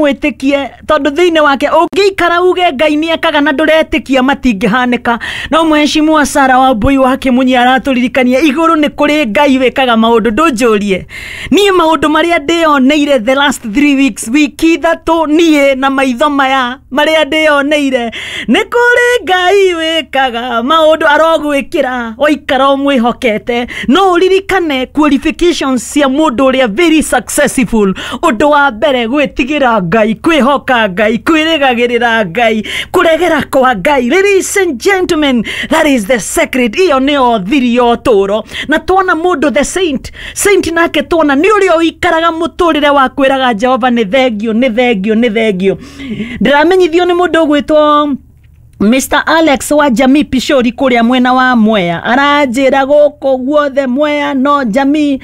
Ũmwĩtĩkie, tondũ thĩinĩ wake ũngĩikara uge Ngai nĩ ekaga na ndũretĩkia, matingĩhanĩka. No mheshimiwa Sara wa Mbui wa Kĩmunyi aratũririkania igũrũ nĩ kũrĩ Ngai wĩkaga maũndũ. Ndũnjũrie niĩ maũndũ marĩa ndĩyoneire the last 3 weeks, wiki 3, niĩ na maitho maya marĩa ndĩyoneire, nĩ kũrĩ Ngai wĩkaga maũndũ. Arogwĩkĩra waikara ũmwĩhokete. No ũririkane qualifications cia mũndũ ũrĩa very successful: ũndũ wa mbere, gwĩtigĩra Ngai, kwĩhoka Ngai, kwĩrĩgagĩrĩra Ngai, kũregera kwa Ngai. Ladies and gentlemen, that is the secret. Iyo nĩyo thiri ya ũtũũro. Na tuona mũndũ the saint, saint nake tuona nĩ ũrĩa ũikaraga mũtũrĩre wa kwĩraga Jehova nĩ thengio, nĩ thengio, nĩ thengio. Ndĩramenyithio nĩ mũndũ ũgwĩtwo Mr. Alex wa Jamii Pishori kũrĩa mwena wa Mwea, aranjĩra gũkũ guothe Mwea no Jamii,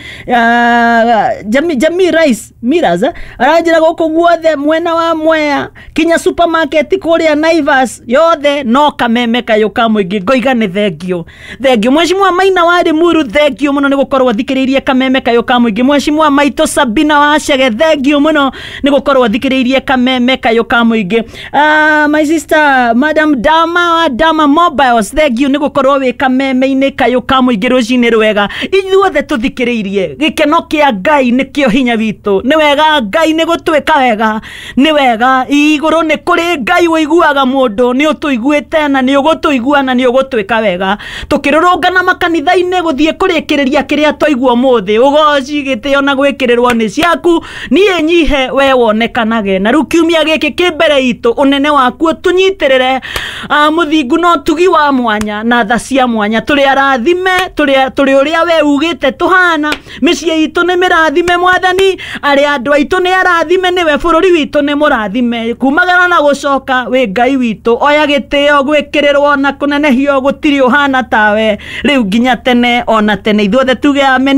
Jamii Rice Millers, eh? Aranjĩra gũkũ guothe mwena wa Mwea kinya supermarket kũrĩa Naivas yothe no Kameme Kayũ ka Mũingĩ. Ngoiga nĩ thengio, thengio. Mheshimiwa Maina wa Limuru, thengio mũno nĩ gũkorwo thikĩrĩirie Kameme Kayũ ka Mũingĩ. Mheshimiwa Maitũ Sabina wa Chege, thengio mũno nĩ gũkorwo thikĩrĩirie Kameme Kayũ ka Mũingĩ. My sister Madam Dama wa Dama Mobiles, thengio nĩ gũkorwo wĩ Kameme-inĩ Kayũ ka Mũingĩ. Rũcinĩ rwega ithuothe tũthikĩrĩirie. Gĩkeno kĩa Ngai nĩkĩo hinya witũ. Nĩ wega Ngai nĩ gũtwĩka wega, nĩ wega. Igũrũ nĩ kũrĩ Ngai ũiguaga mũndũ. Nĩ ũtũiguĩte na nĩ ũgũtũigua na nĩ ũgũtwĩka wega. Tũkĩrũrũngana makanitha-inĩ gũthiĩ kũrĩkĩrĩria kĩrĩa twaigua ũmũthĩ, ũgoci, gĩtĩo na gwĩkĩrĩrwo nĩ ciaku. Niĩ nyihe, we wonekanage. Na rĩu kiumia gĩkĩ kĩ mbere itũ, ũnene waku ũtũnyitĩrĩre, mũthingu no tugi wa mwanya na tha cia mwanya. Tũrĩ arathime, tũrĩ ũrĩa we ugĩte tũhana. Mĩciĩ itũ nĩ mĩrathime, Mwathani. Arĩa andũ aitũ nĩ arathime nĩwe. Bũrũri witũ nĩ mũrathime kumagara na gũcoka. Wĩ Ngai witũ, oya gĩtĩo, gwĩkĩrĩrwo na kũnenehio. Gũtirĩ ũhana tawe, rĩu nginya tene ona tene. Ithuothe tuge amen.